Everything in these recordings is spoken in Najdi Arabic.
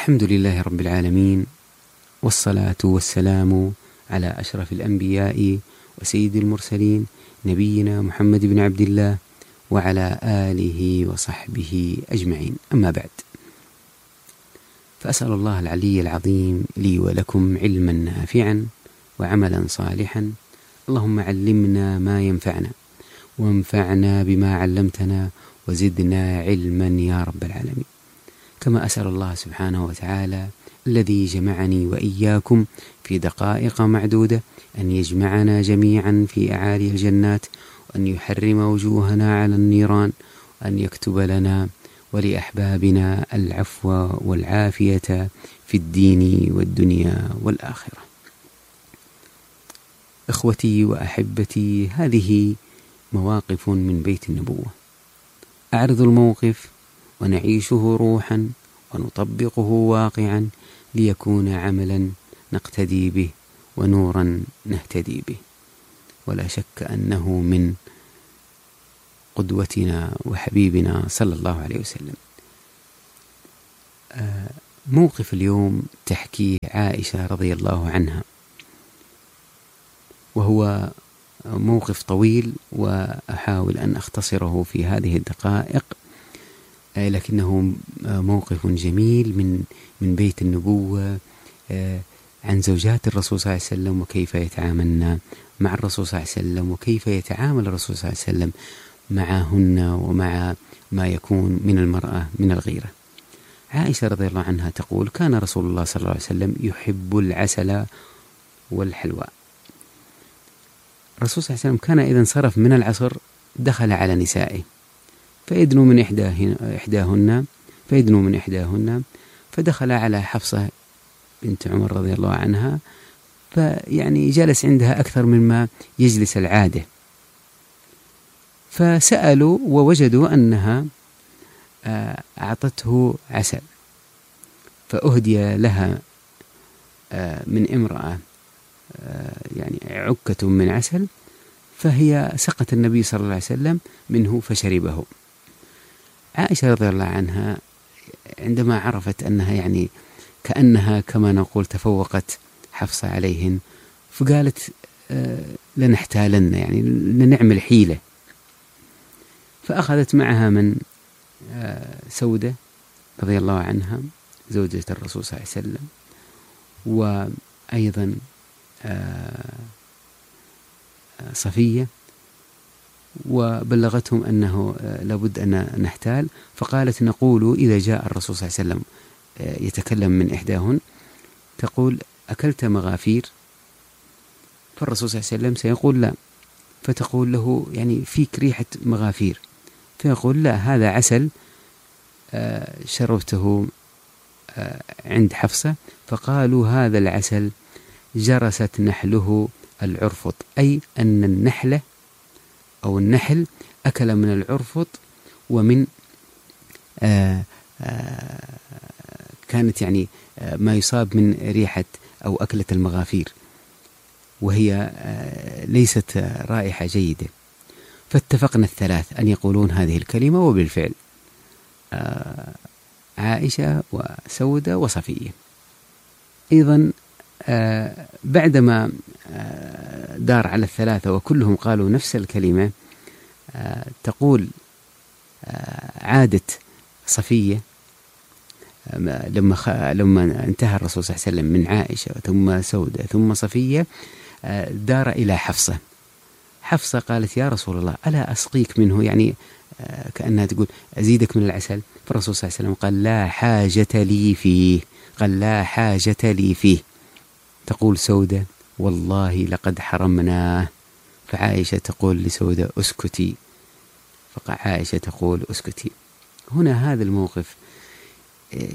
الحمد لله رب العالمين، والصلاة والسلام على أشرف الأنبياء وسيد المرسلين نبينا محمد بن عبد الله وعلى آله وصحبه أجمعين، أما بعد، فأسأل الله العلي العظيم لي ولكم علما نافعا وعملا صالحا. اللهم علمنا ما ينفعنا وانفعنا بما علمتنا وزدنا علما يا رب العالمين. كما أسأل الله سبحانه وتعالى الذي جمعني وإياكم في دقائق معدودة أن يجمعنا جميعا في أعالي الجنات، وأن يحرم وجوهنا على النيران، وأن يكتب لنا ولأحبابنا العفو والعافية في الدين والدنيا والآخرة. إخوتي وأحبتي، هذه مواقف من بيت النبوة، أعرض الموقف ونعيشه روحا ونطبقه واقعا ليكون عملا نقتدي به ونورا نهتدي به، ولا شك أنه من قدوتنا وحبيبنا صلى الله عليه وسلم. موقف اليوم تحكيه عائشة رضي الله عنها، وهو موقف طويل وأحاول أن أختصره في هذه الدقائق، لكنه موقف جميل من بيت النبوة، عن زوجات الرسول صلى الله عليه وسلم وكيف يتعاملن مع الرسول صلى الله عليه وسلم، وكيف يتعامل الرسول صلى الله عليه وسلم معهن ومع ما يكون من المرأة من الغيرة. عائشة رضي الله عنها تقول: كان رسول الله صلى الله عليه وسلم يحب العسل والحلوى. الرسول صلى الله عليه وسلم كان إذا انصرف من العصر دخل على نسائه فيدنو من إحداهن فدخل على حفصة بنت عمر رضي الله عنها، فيعني جلس عندها أكثر مما يجلس العادة، فسألوا ووجدوا أنها أعطته عسل، فأهدي لها من امرأة يعني عكة من عسل، فهي سقت النبي صلى الله عليه وسلم منه فشربه. عائشة رضي الله عنها عندما عرفت أنها يعني كأنها كما نقول تفوقت حفصة عليهن، فقالت: لنحتالن، يعني لنعمل حيلة. فأخذت معها من سودة رضي الله عنها زوجة الرسول صلى الله عليه وسلم، وأيضا صفية، وبلغتهم أنه لابد أن نحتال، فقالت: نقول إذا جاء الرسول صلى الله عليه وسلم يتكلم من إحداهن تقول: أكلت مغافير؟ فالرسول صلى الله عليه وسلم سيقول: لا، فتقول له: يعني فيك ريحة مغافير، فيقول: لا، هذا عسل شربته عند حفصة. فقالوا: هذا العسل جرست نحله العرفط، أي أن النحلة أو النحل أكل من العرفط، ومن كانت يعني ما يصاب من ريحة أو أكلة المغافير، وهي ليست رائحة جيدة. فاتفقنا الثلاث أن يقولون هذه الكلمة، وبالفعل عائشة وسودة وصفية. أيضا بعدما دار على الثلاثة وكلهم قالوا نفس الكلمة، تقول عادت صفية لما انتهى الرسول صلى الله عليه وسلم من عائشة ثم سودة ثم صفية، دار إلى حفصة. حفصة قالت: يا رسول الله، ألا أسقيك منه؟ يعني كأنها تقول: أزيدك من العسل. فالرسول صلى الله عليه وسلم قال: لا حاجة لي فيه. قال: لا حاجة لي فيه. تقول سودة: والله لقد حرمناه. فعائشة تقول لسودة: أسكتي. فعائشة تقول: أسكتي. هنا هذا الموقف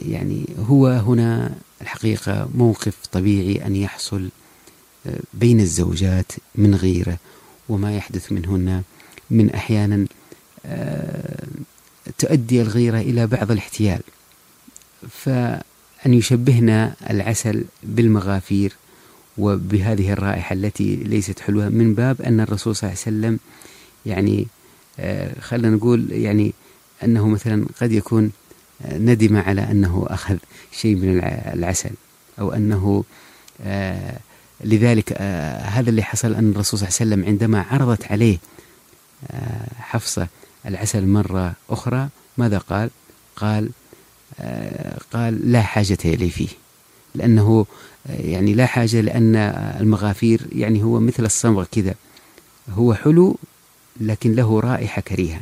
يعني هو هنا الحقيقة موقف طبيعي أن يحصل بين الزوجات من غيرة، وما يحدث منهن من أحيانا تؤدي الغيرة إلى بعض الاحتيال، فأن يشبهنا العسل بالمغافير وبهذه الرائحة التي ليست حلوة، من باب أن الرسول صلى الله عليه وسلم يعني خلنا نقول يعني أنه مثلا قد يكون ندم على أنه أخذ شيء من العسل، أو أنه لذلك هذا اللي حصل، أن الرسول صلى الله عليه وسلم عندما عرضت عليه حفصة العسل مرة أخرى ماذا قال؟ قال لا حاجة لي فيه، لأنه يعني لا حاجة، لأن المغافير يعني هو مثل الصمغ كذا، هو حلو لكن له رائحة كريهة،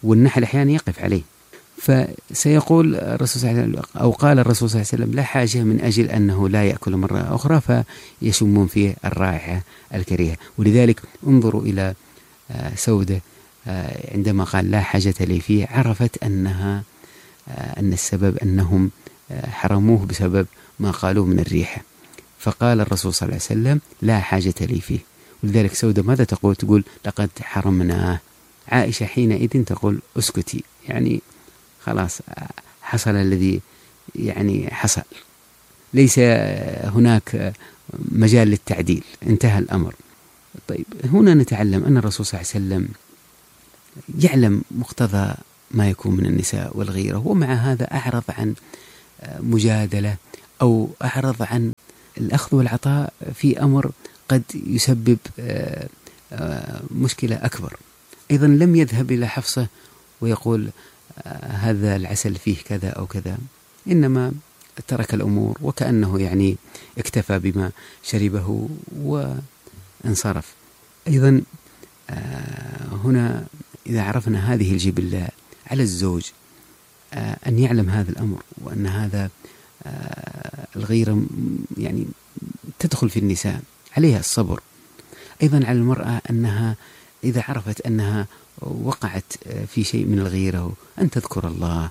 والنحل أحيانا يقف عليه. فسيقول الرسول صلى الله عليه وسلم، أو قال الرسول صلى الله عليه وسلم لا حاجة، من أجل أنه لا يأكل مرة أخرى فيشمون فيه الرائحة الكريهة. ولذلك انظروا إلى سودة عندما قال لا حاجة لي فيه، عرفت أن السبب أنهم حرموه بسبب ما قالوه من الريحة، فقال الرسول صلى الله عليه وسلم لا حاجة لي فيه. ولذلك سودة ماذا تقول؟ تقول لقد حرمناه. عائشة حينئذ تقول اسكتي، يعني خلاص حصل الذي يعني حصل، ليس هناك مجال للتعديل، انتهى الأمر. طيب هنا نتعلم أن الرسول صلى الله عليه وسلم يعلم مقتضى ما يكون من النساء والغيرة، ومع هذا أعرض عن مجادلة أو أعرض عن الأخذ والعطاء في أمر قد يسبب مشكلة أكبر. أيضا لم يذهب إلى حفصة ويقول هذا العسل فيه كذا أو كذا، إنما ترك الأمور وكأنه يعني اكتفى بما شربه وانصرف. أيضا هنا إذا عرفنا هذه الجبلة على الزوج أن يعلم هذا الأمر، وأن هذا الغيرة يعني تدخل في النساء، عليها الصبر. أيضا على المرأة أنها إذا عرفت أنها وقعت في شيء من الغيرة أن تذكر الله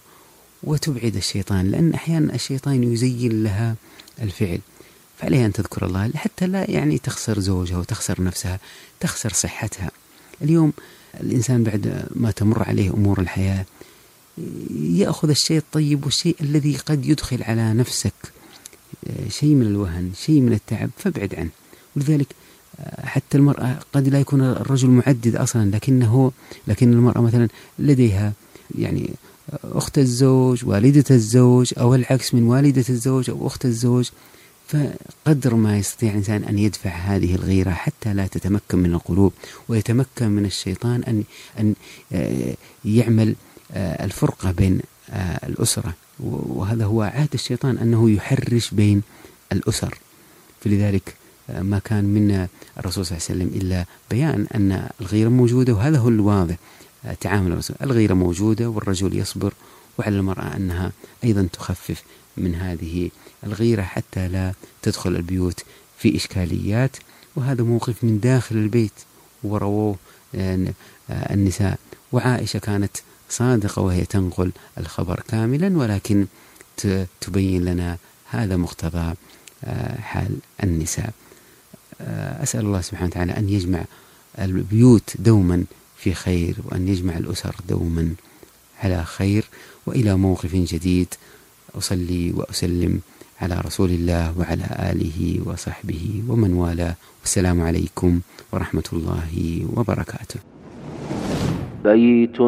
وتبعد الشيطان، لأن أحيانا الشيطان يزين لها الفعل، فعليها أن تذكر الله حتى لا يعني تخسر زوجها وتخسر نفسها، تخسر صحتها. اليوم الإنسان بعد ما تمر عليه أمور الحياة يأخذ الشيء الطيب والشيء الذي قد يدخل على نفسك شيء من الوهن، شيء من التعب، فابعد عنه. ولذلك حتى المرأة قد لا يكون الرجل معدد أصلا، لكن المرأة مثلا لديها يعني أخت الزوج، والدة الزوج، أو العكس من والدة الزوج أو أخت الزوج، فقدر ما يستطيع الإنسان أن يدفع هذه الغيرة حتى لا تتمكن من القلوب، ويتمكن من الشيطان أن يعمل الفرقة بين الأسرة، وهذا هو عهد الشيطان أنه يحرش بين الأسر. فلذلك ما كان من الرسول صلى الله عليه وسلم إلا بيان أن الغيرة موجودة، وهذا هو الواضح تعامل الرسول، الغيرة موجودة والرجل يصبر، وعلى المرأة أنها أيضا تخفف من هذه الغيرة حتى لا تدخل البيوت في إشكاليات. وهذا موقف من داخل البيت ورووه النساء، وعائشة كانت صادقة وهي تنقل الخبر كاملا، ولكن تبين لنا هذا مقتضى حال النساء. أسأل الله سبحانه وتعالى أن يجمع البيوت دوما في خير، وأن يجمع الأسر دوما على خير. وإلى موقف جديد، أصلي وأسلم على رسول الله وعلى آله وصحبه ومن والاه، والسلام عليكم ورحمة الله وبركاته. بيت